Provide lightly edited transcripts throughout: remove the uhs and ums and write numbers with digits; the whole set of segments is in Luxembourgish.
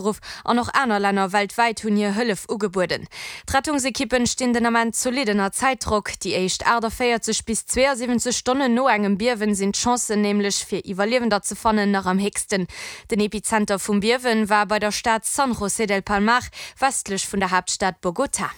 Geruff an och aner Länner weltwäit hunn hir Hëllef ugebueden. D'Rettungsekippen stinn den Ament zolidd ënner Zäitdrock. Déi éischt 48 bis 72 Stonnen no engem Biewen sinn d'Chancen nämlech fir Iwwerliewender ze fannen nach am héchsten. Den Epizenter vum Biewen war bei der Stad San José del Palmar, westlech vun der Haaptstad Bogotá.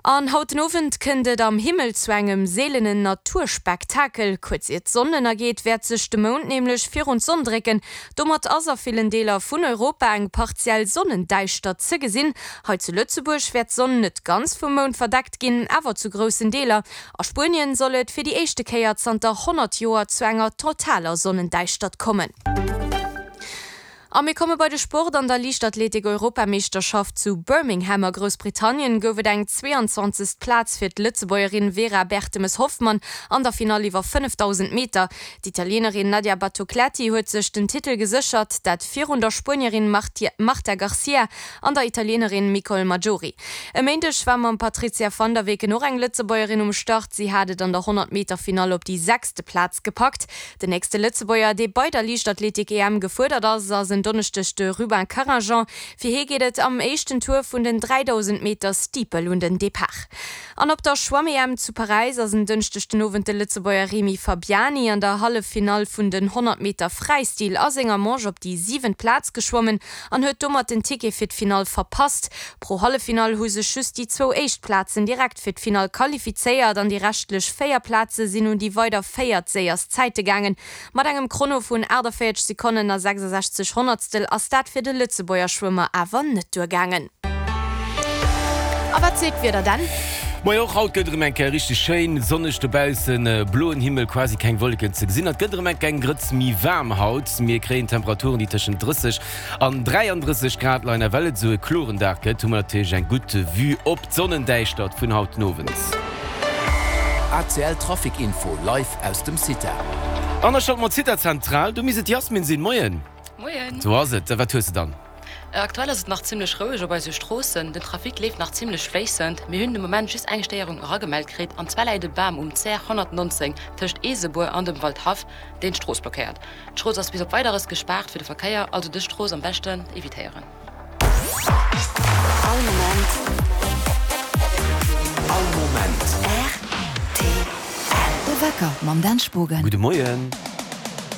An haut den Owend kënnt et am Himmel zu engem seelenen Naturspektakel. Kuerz ier d'Sonn ënnergeet, wäert sech de Mound nämlech virun d'Sonn drécken. Domat ass a villen Deeler vun Europa eng partiell Sonnendäischtert ze gesinn. Hei zu Lëtzebuerg wäert d'Sonn net ganz vum Mound verdeckt ginn, awer zu groussen Deeler. A Spuenien soll et fir déi éischte Kéier zanter 100 Joer zu enger totaler Sonnendäischtert kommen. A mir komme bei de Sport. An der Liichtathletik-Europameeschterschaft zu Birmingham a Groussbritannien gouf et eng 22. Plaz fir d'Lëtzebuergerin Vera Bertemes-Hoffmann an der Finall iwwer 5.000 Meter. D'Italienerin Nadia Battocletti huet sech den Titel geséchert, dat virun der Spuenierin Marta Garcia an der Italienerin Micol Majori. E Méindeg war mam Patrizia van der Weken och eng Lëtzebuergerin um Start. Si hat et an der 100 Meter Finall op déi sechste Plaz gepackt. Den nächste Lëtzebuerger, dee bei der Liichtathletik-EM gefuerdert ass, ass en Donneschdeg de Rubin Carringeon. Fir hie geet et am éischten Tour vun den 3.000 Meter Steeple un den Depart. An op der Schwamm-EM zu Paräis ass en Dënschdeg den Owend de Lëtzebuerger Remy Fabiani an der Halleffinall vun den 100 Meter Fräistil a senger Manche op déi siwent Plaz geschwommen an huet domat den Ticket fir d'Finall verpasst. Pro Halleffinall hu sech just déi zwou éischt Plazen direkt fir d'Finall qualifizéiert an déi reschtlech 4 Plaze sinn un déi weider véiert séierst Zäite gaangen. Mat engem Chrono vun 48 Sekonnen a 66 Honnertstel ass dat fir de Lëtzebuerger Schwëmmer awer net duergaangen. A wat seet d'Wieder denn? Moien, och haut gëtt erëm eng Kéier richteg schéin sonneg dobaussen, bloen Himmel, quasi keng Wolleken ze gesinn. Et gëtt erëm eng eng Grëtz méi waarm haut, mir kréien Temperaturen déi tëschent 30 An 33 Grad leien. A well et esou e kloren Dag gëtt, hu mer natierlech eng gutt Vue op d'Sonnendäischtert vun haut den Owend. ACL Trafic Info live aus dem CITA. An da schalte mer d'CITA Zentral, do misst et d'Yasmin sinn. Moien. Moien. Sou ass et. Wat hues de dann? Aktuell ass et nach zimmlech roueg op eise Stroossen. Den Trafic leeft nach zimmlech fléissend. Mir hunn de Moment just eng Stéierung eragemellt kritt, an zwar läit e Bam um CR 119 tëscht Eesebuer an dem Waldhaff, deen d'Strooss blockéiert. D'Strooss ass bis op Weideres gespaart fir de Verkéier, also dës Strooss am beschten evitéieren. All Moment. All Moment. Rtl. De Wecker mam Dan Spogen. Gudde Moien.